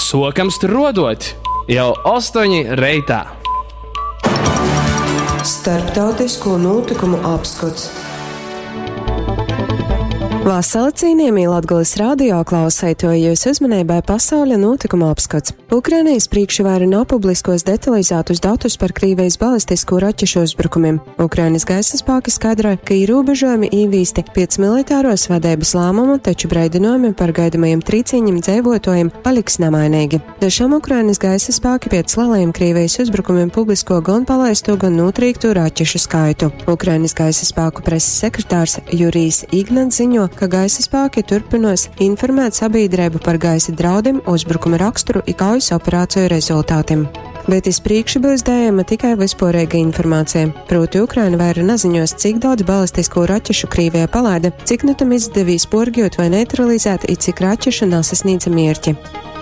Suokam struoduot jau 8 reitā! Starptautisko nūtykumu apskots. Vasala cīnījamī Latgales radio klauseitoji, jūsu uzmanībai pasauļa nūtykuma apskats. Ukrainijas priekšvaira nav publiskos detalizētus datus par Krīvijas balistisko raķešu uzbrukumiem. Ukrainas gaisa spēki skaidroja, ka ierobežojumi īvīsti pēc militāros vadības lēmuma, taču brīdinājumi par gaidamajiem trīciņiem dzīvotojiem paliks nemainīgi. Da šam Ukrainas gaisa spēki pēc lielajiem Krīvijas uzbrukumiem publisko gan palaisto, gan notrīkto raķešu skaitu. Ukrainas gaisa spēku preses sekretārs Jurijs Ignats ziņo, ka gaisa spēki turpinos informēt sabiedrību par gaisa draudiem, uzbrukuma raksturu i kaujas operāciju rezultātiem. Bet iz priekšu būs dējama tikai vispārīga informācija. Proti, Ukraina vaira naziņos, cik daudz balistisko raķešu Krīvija palaida, cik nu tam izdevīs porgjūt vai neutralizēt, i cik raķešu nasasniedza mierķi.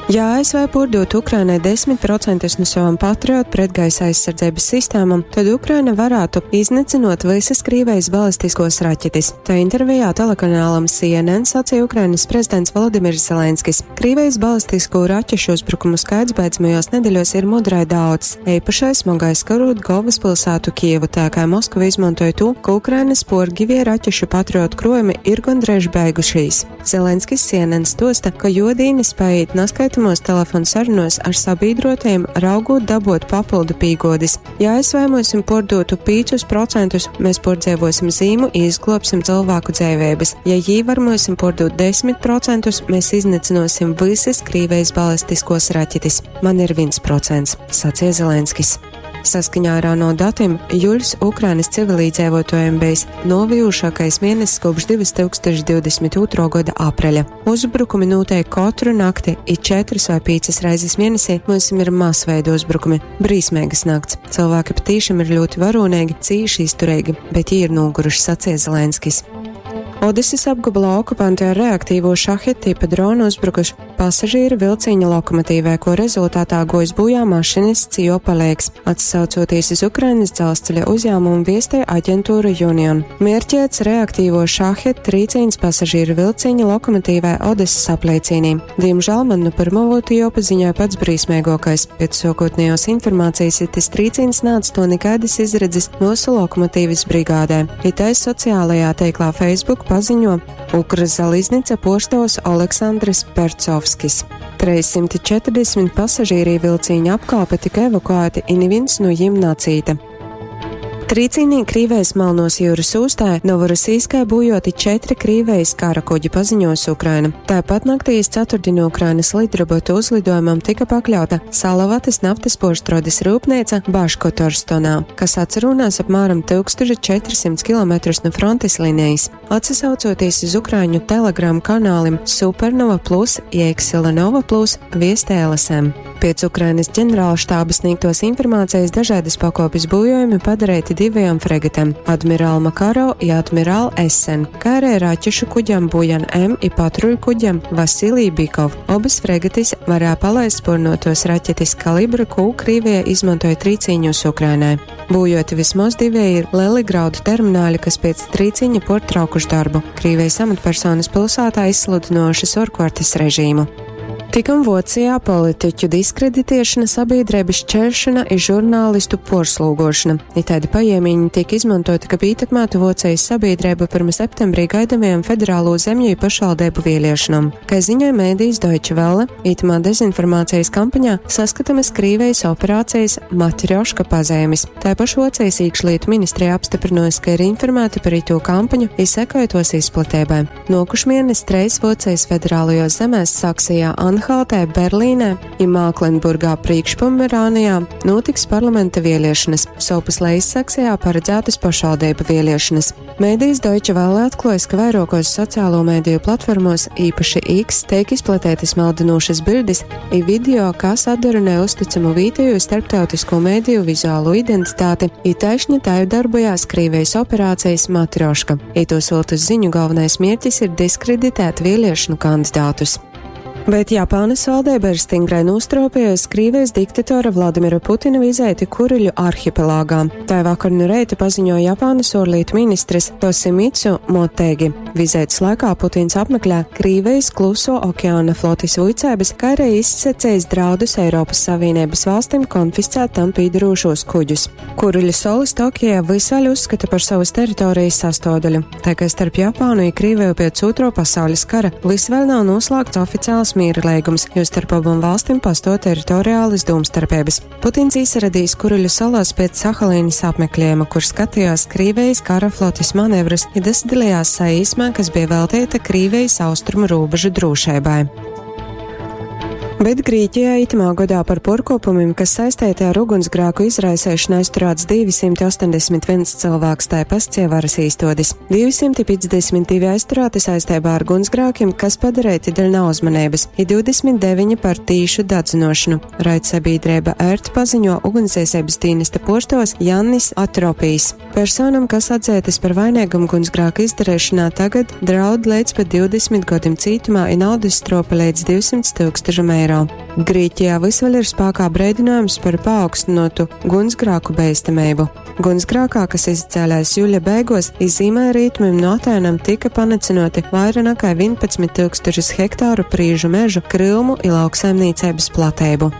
Ja ASV pārdotu Ukrainai 10% no savām Patriot pretgaisa aizsardzības sistēmām, tad Ukraina varētu iznīcinot visas Krīvijas balistiskos raķetes. Tā intervijā telekanālam CNN sacīja Ukrainas prezidents Volodimirs Zelenskis. Krīvijas balistisko raķešu uzbrukumu skaits beidzamajos nedēļos ir mudrai daudz. Eipašais smagais karot galvaspilsētu Kievu, tā kā Moskva izmantoja to, ka Ukrainas porgivie raķešu Patriot krojumi ir gandrīz beigušies. Zelenskis CNN stosta, ka jodīni spēj naskaitāmos telefonu sarunos ar sabiedrotajiem raugot dabot papildu pīgodis. Ja ASV mums pordotu 5%, mēs pordzēvosim zīmu i izglābsim cilvēku dzēvēbas. Ja jī var mums pordot 10%, mēs iznīcināsim visas Krīvijas balistiskos raķetes. Man ir 1%, sacīja Zelenskis. Saskaņā ar ANO datiem, jūļs Ukrainas civilīdzēvotājiem bijis novijušākais mēnesis kopš 2022. gada apreļa. Uzbrukumi notiek katru nakti, it 4 vai 5 reizes mēnesī mums ir masveida uzbrukumi. Brīsmīgas nakts. Cilvēki patīšām ir ļoti varonīgi, cīši izturīgi, bet jī ir noguruši, sacīja Zelenskis. Odeses apgabalā okupanti ar reaktīvo šahet tipa dronu uzbrukuši pasažieru vilciņa lokomotīvē, ko rezultātā gojis bojā mašinists Jo Palēks, atsaucoties uz Ukrainas dzelzceļa uzņēmumu viestē aģentūra Union. Mērķēts reaktīvo šahet trīcīns pasažieru vilciņa lokomotīvē Odeses apliecīnī. Diemžēl man nu pirmo būtu jāpaziņoja pats brīsmīgākais. Pēc sākotnējos informācijas, ja tas trīcīns nāca to nekādas izredzes mūsu lokomotīvas brigādē. Itais sociālajā teiklā Facebook paziņo Ukrzaliznica postos Aleksandrs Percovskis. 340 pasažīri vilciņa apkāpe tika evakuēti, i neviens no jiem nacīta. Trīcīnī Krīvējas Melnos jūras ūstā Novorosijskai bujoti 4 Krīvējas kara kuģi paziņos Ukraina. Tāpat naktī iz ceturtdienu Ukrainas lidrobotu uzlidojumam tika pakļauta Salavatas naftas porštrodes rūpnīca Baškotorstonā, kas atcerūnās apmēram 1400 km no frontes līnijas. Atsasaucoties uz Ukraiņu Telegram kanālim Supernova Plus, Jēkselanova Plus, viestē LSM. Pēc Ukrainas ģenerālštāba sniegtos informācijas dažādas pakopes bojojumi padarīti divajām fregatēm - Admiral Makaro i Admiral Essen, kā arī raķešu kuģam Bujan M i patruļu kuģam Vasilij Bikov. Abas fregatis varēja palaist spurnotos raķetes kalibra, ko Krievija izmantoja trīcīņos Ukrainai. Bojoti vismaz divi ir lieli graudu termināļi, kas pēc trīciņa portraukuši darbu. Krievijas amatpersonas pilsētā izsludinošas orkvartes režīmu. Tikam Vocijā politiķu diskreditēšana, sabiedrības šķēršana i žurnālistu porslūgošana. Itādi pajiemiņi tiek izmantoti, kab ietekmētu Vocijas sabiedrību pirms septembrī gaidamajām federālo zemju i pašvaldību vēlēšanām. Kā ziņoja mēdījis Deutsche Welle, itamā dezinformācijas kampaņā saskatamas Krīvijas operācijas Matrjoška pazīmes. Taipoš Vocijas iekšlietu ministrija apstiprinājusi, ka ir informēta par itu kampaņu i sekoja tos izplatībai. Nokušmienes treis Vocijas federālajos zemēs Saksijā, Anhaltē, Berlīnē i Māklenburgā Priekšpomerānijā notiks parlamenta vēlēšanas, sovpus Lejassaksijā paredzētas pašvaldību vēlēšanas. Mēdījis Deutsche Welle atklājas, ka vairākos sociālo mēdīju platformos, īpaši X, tiek izplatītas maldinošas bildes i video, kas atdarunē uzticamu vietējo starptautisko mēdīju vizuālo identitāti, i taišņi tā jau darbojās Krīvijas operācijas Matrioška. Ito siltus ziņu galvenais mērķis ir diskreditēt vēlēšanu kandidātus. Bet Japānas valdība ir stingrai nostropējusi Krievijas diktatora Vladimira Putina vizīti Kuriļu arhipelāgā. Tā vakar nu reita paziņoja Japānas ārlietu ministrs Tosimitsu Motegi. Vizītes laikā Putins apmeklē Krievijas kluso okeāna flotis vuicēbas, kā arī izsacījis draudus Eiropas Savienības valstīm konfiscēt tam pīdarūšos kuģus. Kuriļu solis Tokijā visvēl uzskata par savas teritorijas sastāvdaļu, tā kā starp Japānu un Krieviju pēc otro pasaules kara visvēl nav noslēgts oficiāls miera līgums, jo starp abām valstīm pastāv teritoriālas domstarpības. Putins iesaradīs Kuriļu salās pēc Sahalīnas apmeklējuma, kur skatījās Krievijas kara flotis manevrus, ja dalījās saīsmā, kas bija veltīta Krievijas austrumu robežu drošībai. Bet Grieķijā itamā gadā par porkopumiem, kas saistīti ar ugunsgrēku izraisēšanu, aizturēts 281 cilvēks, tā pascievaras īstodis. 252 aizturēti saistībā ar ugunsgrēkiem, kas padarīti dēļ neuzmanības, ir 29 par tīšu dadzinošanu. Raid sabiedrība ERT paziņo ugunsdzēsības dienesta postos Jannis Atropijs. Personam, kas atzētas par vainīgumu ugunsgrēku izdarīšanā, tagad draud līdz pat 20 gadiem cietumā un naudas stropa līdz 200 tūkstošiem eiro. Grieķijā visvēl ir spēkā brīdinājums par paaugstinātu gunsgrāku beistamību. Gunsgrākā, kas izcēlēs jūļa beigos, izzīmē rītumim no Atēnam tika panicinoti vairāk nekā 11 tūkstošus hektāru prīžu mežu, krūmu un lauksaimniecības platību.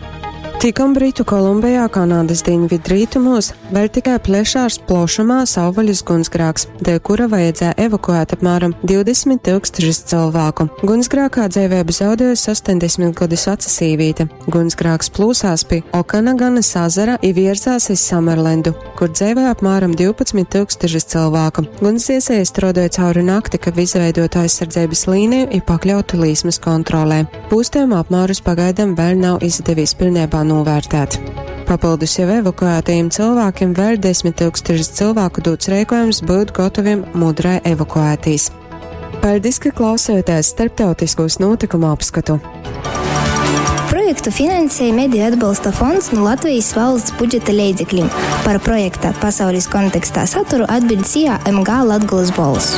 Tikom Britu Kolumbijā, Kanādas dienvidrietumos, vēl tikai plešārs plošumā savvaļas gunsgrāks, dēļ kura vajadzēja evakuēt apmēram 20 tūkstošus cilvēku. Gunsgrākā dzīvību zaudējusi 80 gadus veca sīvīte. Gunsgrāks plūsās pie Okanaganas ezera i virzās iz Samerlendu, kur dzīvoja apmēram 12 tūkstošus cilvēku. Gunsdziesēji strādāja cauri nakti, kad izveidotu aizsardzības līniju i pakļautu līsmas kontrolē. Pūstījuma apmērus pagaidām vēl nav izdevies pilnībā novērtēt. Papildus jau evakuētajiem cilvēkiem vēl 10 tūkstošus cilvēku dots rīkojums būt gataviem mudrai evakuētīs. Paldies, ka klausāties starptautiskos notikumu apskatu. Projektu finansēja Mediju atbalsta fonds no Latvijas valsts budžeta līdzekļiem. Par projekta pasaules kontekstā saturu atbild SIA MG Latgulas bols.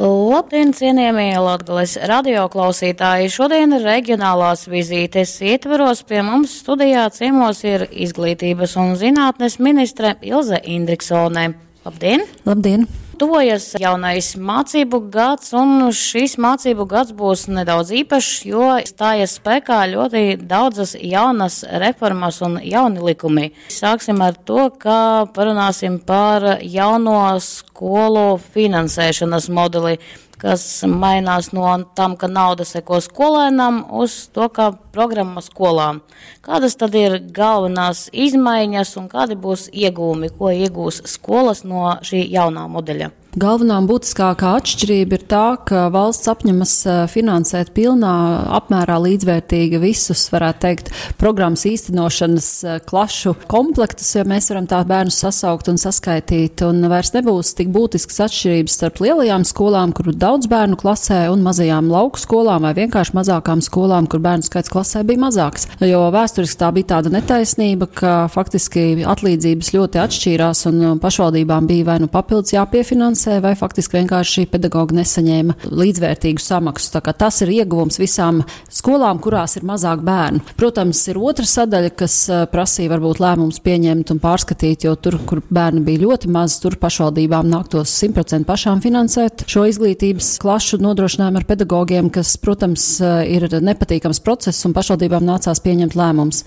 Labdien, cienījamie Latgales radioklausītāji! Šodien reģionālās vizītes ietveros pie mums studijā ciemos ir izglītības un zinātnes ministre Ilze Indriksone. Labdien! Labdien! Tuvojas jaunais mācību gads, un šis mācību gads būs nedaudz īpašs, jo stājas spēkā ļoti daudzas jaunas reformas un jauni likumi. Sāksim ar to, ka parunāsim par jauno skolu finansēšanas modeli, kas mainās no tam, ka nauda seko skolēnam, uz to, ka programma skolām. Kādas tad ir galvenās izmaiņas un kādi būs iegūmi, ko iegūs skolas no šī jaunā modeļa? Galvenā un būtiskākā atšķirība ir tā, ka valsts apņemas finansēt pilnā apmērā līdzvērtīgi visus, varētu teikt, programmas īstenošanas klašu komplektus, ja mēs varam tā bērnus sasaukt un saskaitīt, un vairs nebūs tik būtiskas atšķirības starp lielajām skolām, kur daudz bērnu klasē, un mazajām lauku skolām vai vienkārši mazākām skolām, kur bērnu skaits klasē bija mazāks. Jo vēsturiski tā bija tāda netaisnība, ka faktiski atlīdzības ļoti atšķīrās un pašvaldībām bija vai nu papildus jāpiefinansē, vai faktiski vienkārši pedagogi nesaņēma līdzvērtīgu samaksu. Tā kā tas ir ieguvums visām skolām, kurās ir mazāk bērnu. Protams, ir otra sadaļa, kas prasīja varbūt lēmumus pieņemt un pārskatīt, jo tur, kur bērni bija ļoti maz, tur pašvaldībām nāktos 100% pašām finansēt šo izglītības klašu nodrošinājumu ar pedagogiem, kas, protams, ir nepatīkams process un pašvaldībām nācās pieņemt lēmumus.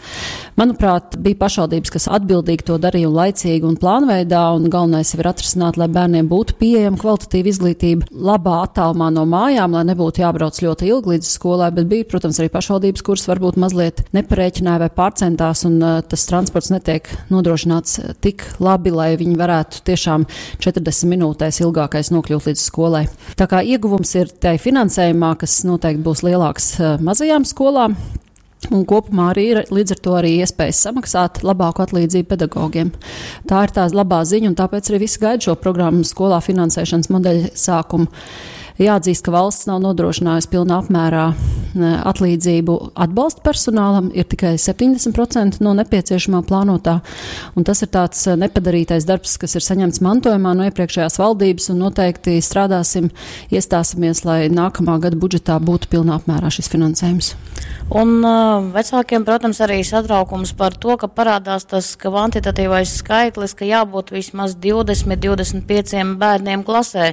Manuprāt, bija pašvaldības, kas atbildīgi to darīja un laicīgi un plānveidā, un galvenais jau ir atrisināt, lai bērniem būtu pieejama kvalitatīva izglītība labā attālumā no mājām, lai nebūtu jābrauc ļoti ilgi līdz skolai, bet bija, protams, arī pašvaldības, kuras varbūt mazliet neparēķināja vai pārcentās, un tas transports netiek nodrošināts tik labi, lai viņi varētu tiešām 40 minūtēs ilgākais nokļūt līdz skolai. Tā kā ieguvums ir tai finansējumā, kas noteikti būs lielāks mazajām skolām. Un kopumā arī ir līdz ar to arī iespējas samaksāt labāku atlīdzību pedagogiem. Tā ir tā labā ziņa, un tāpēc arī visi gaida šo programmu skolā finansēšanas modeļa sākumu. Jāatzīst, ka valsts nav nodrošinājusi pilnā apmērā atlīdzību atbalsta personālam, ir tikai 70% no nepieciešamā plānotā. Un tas ir tāds nepadarītais darbs, kas ir saņemts mantojumā no iepriekšējās valdības, un noteikti strādāsim, iestāsimies, lai nākamā gada budžetā būtu pilnā apmērā šis finansējums. Un vecākiem, protams, arī satraukums par to, ka parādās tas kvantitatīvais skaitlis, ka jābūt vismaz 20, 25 bērniem klasē.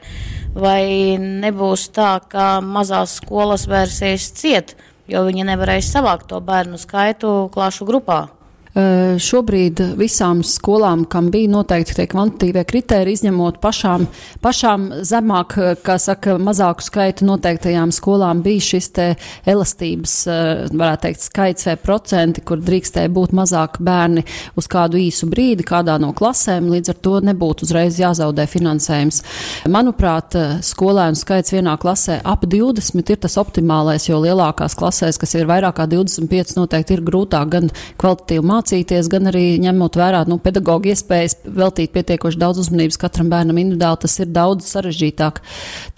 Vai nebūs tā, ka mazās skolas vērsies ciet, jo viņi nevarēs savākt to bērnu skaitu klašu grupā? Šobrīd visām skolām, kam bija noteikti tie kvantitīvie kritēriji, izņemot pašām, pašām zemāk, kā saka, mazāku skaitu noteiktajām skolām, bija šis te elastības, varētu teikt, skaits vai procenti, kur drīkstēja būt mazāk bērni uz kādu īsu brīdi kādā no klasēm, līdz ar to nebūtu uzreiz jāzaudē finansējums. Manuprāt, skolēnu skaits vienā klasē ap 20 ir tas optimālais, jo lielākās klasēs, kas ir vairāk kā 25, noteikti ir grūtāk gan kvalitatīvi mācīties, gan arī ņemot vērā, nu, pedagoģa iespējas veltīt pietiekoši daudz uzmanības katram bērnam individuāli, tas ir daudz sarežģītāk.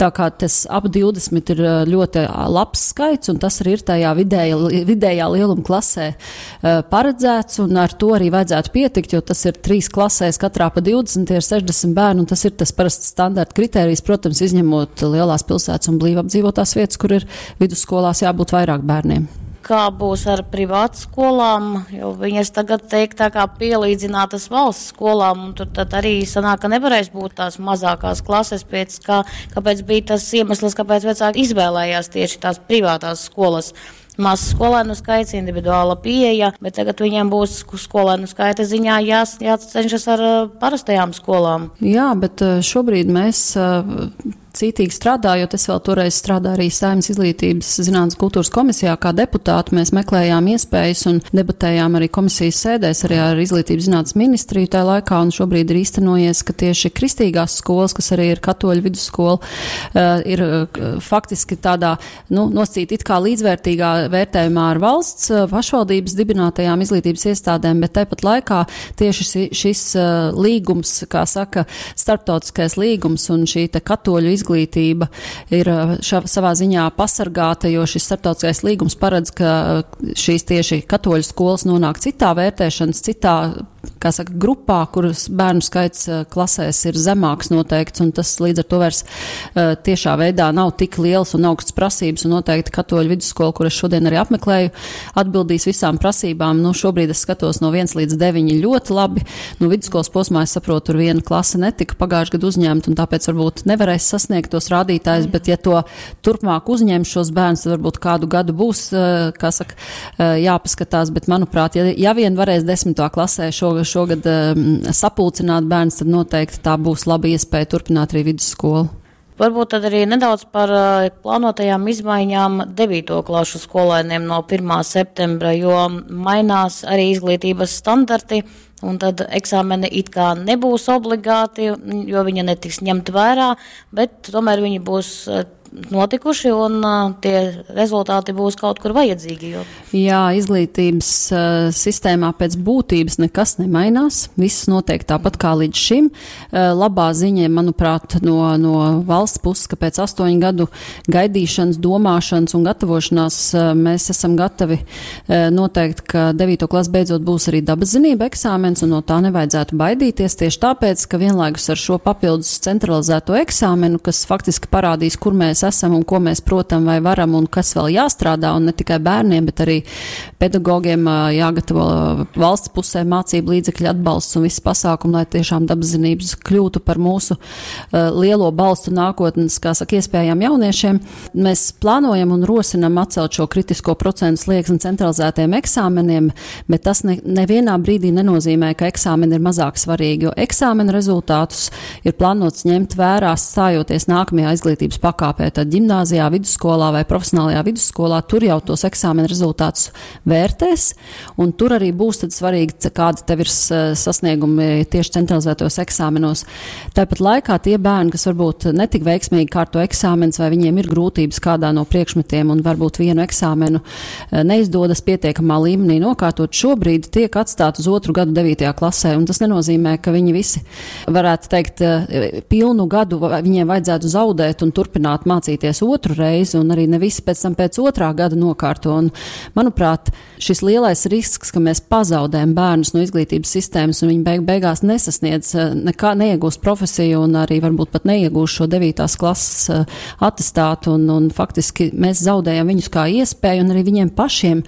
Tā kā tas ap 20 ir ļoti labs skaits, un tas arī ir tajā vidējā lieluma klasē paredzēts, un ar to arī vajadzētu pietikt, jo tas ir trīs klasēs, katrā pa 20, tie ir 60 bērni, un tas ir tas parasts standarta kritērijs, protams, izņemot lielās pilsētas un blīvi apdzīvotās vietas, kur ir vidusskolās jābūt vairāk bērniem. Kā būs ar privātskolām, jo viņas tagad tiek tā kā pielīdzinātas valsts skolām, un tur tad arī sanāk, ka nevarēs būt tās mazākās klases, pēc kā, kāpēc bija tas iemesls, kāpēc vecāki izvēlējās tieši tās privātās skolas. Mazs skolēnu skaits, individuāla pieeja, bet tagad viņiem būs skolēnu skaita ziņā jācenšas ar parastajām skolām. Jā, bet šobrīd mēs cītīgi strādājot, es vēl toreiz strādāju arī Saeimas izglītības zinātnes kultūras komisijā kā deputāti, mēs meklējām iespējas un debatējām arī komisijas sēdēs arī ar izglītības zinātnes ministriju tajā laikā, un šobrīd ir īstenojies, ka tieši kristīgās skolas, kas arī ir katoļu vidusskola, ir faktiski tādā, nu, nosacīt it kā līdzvērtīgā vērtējumā ar valsts pašvaldības dibinātajām izglītības iestādēm, bet tāpat laikā tieši šis līgums, kā saka, starptautiskais līgums un šī te katoļu izglītība ir savā ziņā pasargāta, jo šis starptautiskais līgums paredz, ka šīs tieši katoļu skolas nonāk citā vērtēšanas, citā, kā saka, grupā, kuras bērnu skaits klasēs ir zemāks noteikts, un tas līdz ar to vairs tiešā veidā nav tik liels un augsts prasības, un noteikti katoļu vidusskola, kur es šodien arī apmeklēju, atbildīs visām prasībām. Nu, šobrīd es skatos no 1 līdz 9 ļoti labi. Nu, vidusskolas posmā, es saprotu, tur viena klase netika pagājušajā gadu uzņemta, un tāpēc varbūt nevarēs sasniegt tos rādītājus, bet ja to turpmāk uzņem šos bērnus, tad varbūt kādu gadu būs, kā saka, jāpaskatās, bet manuprāt, ja vien varēs 10. klasē šogad sapulcināt bērns, tad noteikti tā būs laba iespēja turpināt arī vidusskolu. Varbūt tad arī nedaudz par plānotajām izmaiņām 9. klašu skolēniem no 1. septembra, jo mainās arī izglītības standarti, un tad eksāmeni it kā nebūs obligāti, jo viņi netiks ņemt vērā, bet tomēr viņi būs notikuši un tie rezultāti būs kaut kur vajadzīgi. Jo... Jā, izglītības sistēmā pēc būtības nekas nemainās. Viss notiek tāpat kā līdz šim. Labā ziņa, manuprāt, no valsts puses, ka pēc 8 gadu gaidīšanas, domāšanas un gatavošanās mēs esam gatavi noteikt, ka 9. klasi beidzot būs arī dabas zinība eksāmens, un no tā nevajadzētu baidīties tieši tāpēc, ka vienlaikus ar šo papildus centralizēto eksāmenu, kas faktiski parādīs, kur mēs esam un ko mēs protam vai varam un kas vēl jāstrādā, un ne tikai bērniem, bet arī pedagogiem jāgatavo valsts pusē mācību līdzekļu atbalsts un viss pasākumi, lai tiešām dabas zinības kļūtu par mūsu lielo balstu nākotnes, kā saka, iespējām jauniešiem. Mēs plānojam un rosinam atcelt šo kritisko procentu slieksni centralizētiem eksāmeniem, bet tas nevienā brīdī nenozīmē, ka eksāmeni ir mazāk svarīgi, jo eksāmena rezultātus ir plānots ņemt vērā stājoties nākamajā izglītības pakāpē, tad ģimnāzijā, vidusskolā vai profesionālajā vidusskolā, tur jau tos eksāmena rezultātus vērtēs, un tur arī būs tad svarīgi, kādi tev ir sasniegumi tieši centralizētos eksāmenos. Tāpat laikā tie bērni, kas varbūt netik veiksmīgi kārto eksāmenus, vai viņiem ir grūtības kādā no priekšmetiem un varbūt vienu eksāmenu neizdodas pietiekamā līmenī nokārtot, šobrīd tiek atstāti uz otru gadu 9. klasē, un tas nenozīmē, ka viņi visi, varētu teikt, pilnu gadu viņiem vajadzētu zaudēt un turpināt mācīties mācīties otru reizi, un arī ne visi pēc tam pēc otrā gada nokārto. Un, manuprāt, šis lielais risks, ka mēs pazaudējam bērnus no izglītības sistēmas, un viņi beigās nesasniedz, nekā, neiegūst profesiju, un arī varbūt pat neiegūst šo 9. klases atestātu, un faktiski mēs zaudējam viņus kā iespēju, un arī viņiem pašiem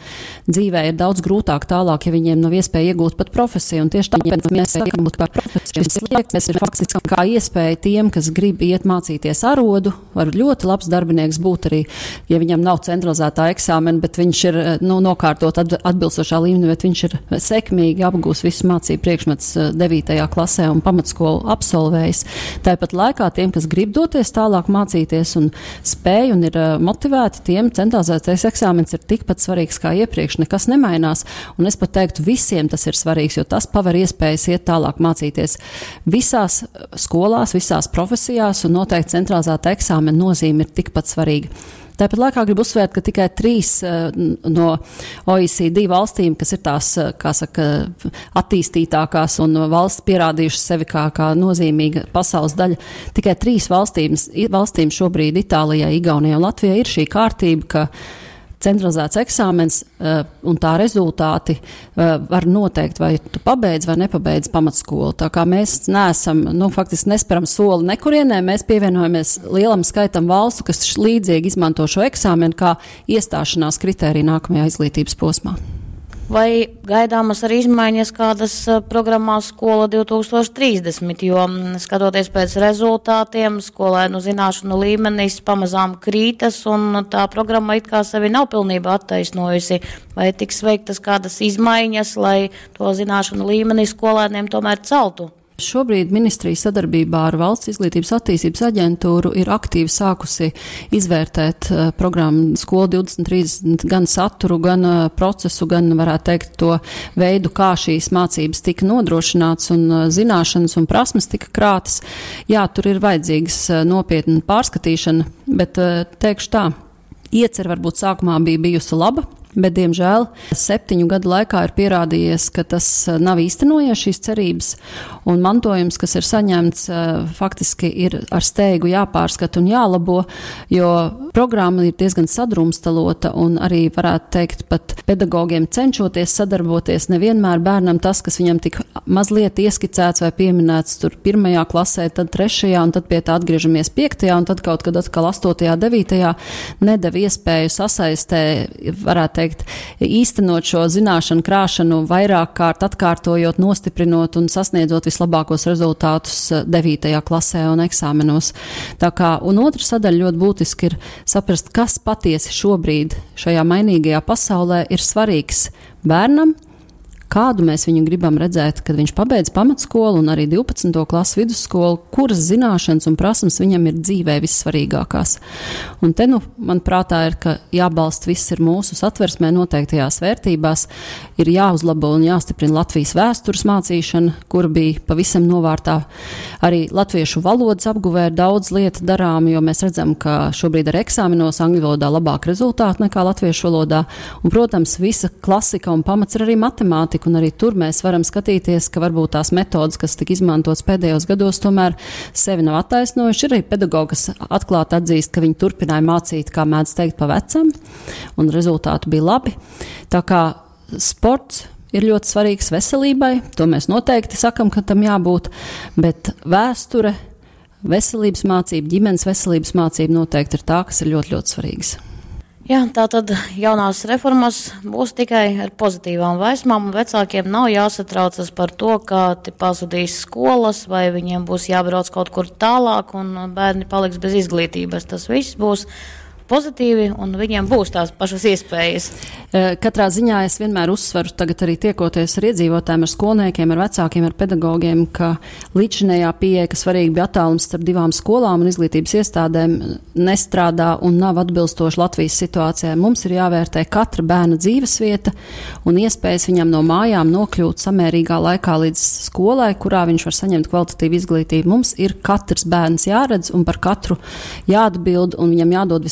dzīvē ir daudz grūtāk tālāk, ja viņiem nav iespēja iegūt pat profesiju. Un tieši tāpēc mēs sakam, ka šis slieksnis ir faktiski kā iespēja tiem, kas grib iet mācīties arodu, var ļoti labs darbinieks būt arī, ja viņam nav centralizētā eksāmena, bet viņš ir, nu, nokārtot atbilstošā līmenī, bet viņš ir sekmīgi apgūs visu mācību priekšmetus 9. klasē un pamatskolu absolvējis. Tāpat laikā tiem, kas grib doties tālāk mācīties un spēj un ir motivēti, tiem centralizētais eksāmens ir tikpat svarīgs kā iepriekš, nekas nemainās. Un es pat teiktu, visiem tas ir svarīgs, jo tas paver iespējas iet tālāk mācīties visās skolās, visās profesijās, un noteikti centralizēta eksāmena nozīme ir tikpat svarīga. Tāpat laikā gribu uzsvērt, ka tikai 3 no OECD valstīm, kas ir tās, kā saka, attīstītākās un valsts pierādījušas sevi kā nozīmīga pasaules daļa, tikai 3 valstīm šobrīd, Itālijai, Igaunijai un Latvijai, ir šī kārtība, ka centralizēts eksāmens un tā rezultāti var noteikt, vai tu pabeidz vai nepabeidz pamatskolu. Tā kā mēs neesam, nu, faktiski nesperam soli nekurienē, mēs pievienojamies lielam skaitam valstu, kas līdzīgi izmanto šo eksāmenu kā iestāšanās kritēriju nākamajā izglītības posmā. Vai gaidāmas arī izmaiņas kādas programmā Skola 2030, jo skatoties pēc rezultātiem, skolēnu zināšanu līmenis pamazām krītas un tā programma it kā sevi nav pilnībā attaisnojusi. Vai tiks veiktas kādas izmaiņas, lai to zināšanu līmeni skolēniem tomēr celtu? Šobrīd ministrija sadarbībā ar Valsts izglītības attīstības aģentūru ir aktīvi sākusi izvērtēt programmu Skola 2030 gan saturu, gan procesu, gan, varētu teikt, to veidu, kā šīs mācības tika nodrošināts un zināšanas un prasmes tika krātas. Jā, tur ir vajadzīgas nopietna pārskatīšana, bet teikšu tā, iecer varbūt sākumā bija bijusi laba, bet, diemžēl, 7 gadu laikā ir pierādījies, ka tas nav īstenojies šīs cerības, un mantojums, kas ir saņemts, faktiski ir ar steigu jāpārskata un jālabo, jo programma ir diezgan sadrumstalota, un arī, varētu teikt, pat pedagogiem cenšoties sadarboties, nevienmēr bērnam tas, kas viņam tik mazliet ieskicēts vai pieminēts tur 1. klasē, tad 3. un tad pie tā atgriežamies 5. un tad kaut kad atkal 8., 9. nedeva iespēju sasaistē, varētu teikt, īstenot šo zināšanu krāšanu vairāk kārt atkārtojot, nostiprinot un sasniedzot vislabākos rezultātus 9. klasē un eksāmenos. Tā kā, un otra sadaļa ļoti būtiski ir saprast, kas patiesi šobrīd šajā mainīgajā pasaulē ir svarīgs bērnam, kādu mēs viņu gribam redzēt, kad viņš pabeidz pamatskolu un arī 12. klasu vidusskolu, kuras zināšanas un prasmes viņam ir dzīvē vissvarīgākās. Un te, nu, man prātā ir, ka jābalsta viss ir mūsu satversmē noteiktajās vērtībās, ir jāuzlabo un jāstiprina Latvijas vēstures mācīšana, kur bija pavisam novārtā. Arī latviešu valodas apguvē ir daudz lietu darām, jo mēs redzam, ka šobrīd ar eksāmenos angļu valodā labāk rezultāti nekā latviešu valodā. Un, protams, visa klasika un pamats ir arī matemātika. Un arī tur mēs varam skatīties, ka varbūt tās metodas, kas tika izmantotas pēdējos gados, tomēr sevi nav attaisnojuši. Ir arī pedagogi, kas atklāti atzīst, ka viņi turpināja mācīt, kā mēdz teikt, pa vecam, un rezultāti bija labi. Tā kā sports ir ļoti svarīgs veselībai, to mēs noteikti sakam, ka tam jābūt, bet vēsture, veselības mācība, ģimenes veselības mācība noteikti ir tā, kas ir ļoti, ļoti svarīgas. Jā, tā tad jaunās reformas būs tikai ar pozitīvām vēsmām, un vecākiem nav jāsatraucas par to, ka te pazudīs skolas vai viņiem būs jābrauc kaut kur tālāk un bērni paliks bez izglītības. Tas viss būs pozitīvi un viņiem būs tās pašas iespējas. Katrā ziņā es vienmēr uzsveru, tagad arī tiekoties ar iedzīvotājiem, ar skolniekiem, ar vecākiem, ar pedagogiem, ka līdzinējā pieeja, ka svarīgi bija attālums starp divām skolām un izglītības iestādēm, nestrādā un nav atbilstoši Latvijas situācijai. Mums ir jāvērtē katra bērna dzīvesvieta un iespējas viņam no mājām nokļūt samērīgā laikā līdz skolai, kurā viņš var saņemt kvalitatīvu izglītību. Mums ir katrs bērns jāredz un par katru jāatbild un viņam jādod